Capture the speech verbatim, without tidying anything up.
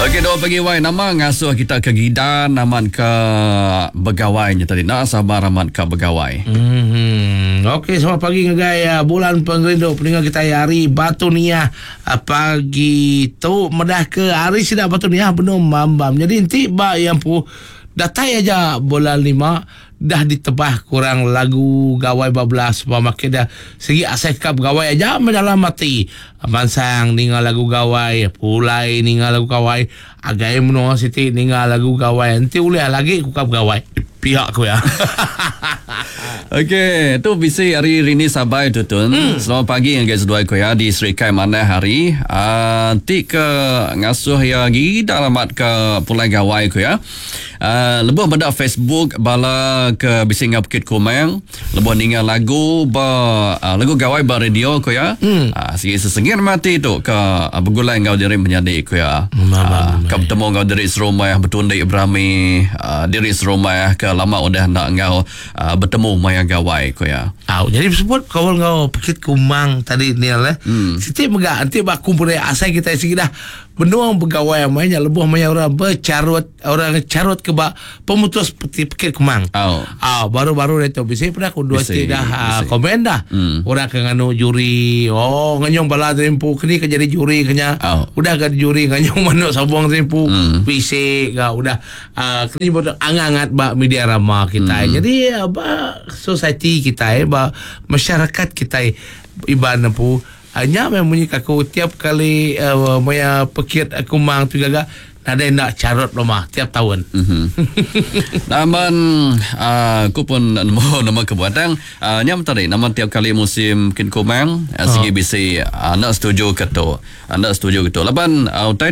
Okey, dua pagi wai nama ngasuh kita ke gidan amat ke begawai nya tadi. Nak sabar amat ke begawai. Hmm. Okey, selamat pagi ngagai uh, bulan pengerindu peninga kita hari Batu Niah uh, pagi tu medah ke hari sida Batu Niah benung mambam. Jadi enti ba yang pu datai aja bulan lima dah ditebah kurang lagu gawai bablas sebab makin dah segi asai kap gawai aja dalam mati mansang ninga lagu gawai pulai ninga lagu gawai agai menua siti ninga lagu gawai enti ulih lagi ku kap gawai pihak ku ya. Okey, tu bisi hari Rini Sabai tu tun. Hmm. Selamat pagi ngagai seduai ku ya di Serikai Manah hari. Uh, ti ke ngasuh ya lagi dalam amat ke pulai gawai ku ya. Uh, lebuh benda Facebook bala ke bisi ngau Bukit Kumang, lebuh ninga lagu ba uh, lagu gawai ba radio ku ya. Hmm. Uh, segi sesengir mati tu ke uh, begulai ngau diri menyadi ku ya. Uh, ke bertemu ngau diri serumah betundik berami uh, diri serumah ke lama udah nak ngau uh, bertemu maya gawai ku ya. Au, jadi sebut kau ngau Bukit Kumang tadi ni lah. Hmm. Siti mega nanti bak kumpul asai kita sigi dah benuang pegawai mainnya lebuh maya orang bercarut orang carut ke bak pemutus peti Bukit Kumang. Oh. Ah, baru-baru dia tu bisi pernah aku dua Bisi, ti dah uh, bisi. Komen dah. Hmm. Orang ke nganu juri. Oh, nganyong bala tempu kini ke jadi juri kenya. Oh. Udah ke juri nganyong manuk sabung tempu. Hmm. Bisi ga udah uh, kini bodoh angat-angat bak media rama kita. Hmm. Jadi uh, bak society kita eh, bak masyarakat kita iban pu hanya memang bunyi aku tiap kali uh, maya pekit aku mang tu gaga nadai nak carut rumah tiap tahun. Mm-hmm. Namun uh, aku pun nemu nama kebuatan uh, nyam tadi nama tiap kali musim kin kumang uh, segi bisi uh, nak setuju ke tu. Anda setuju ke tu. Laban uh, utai tu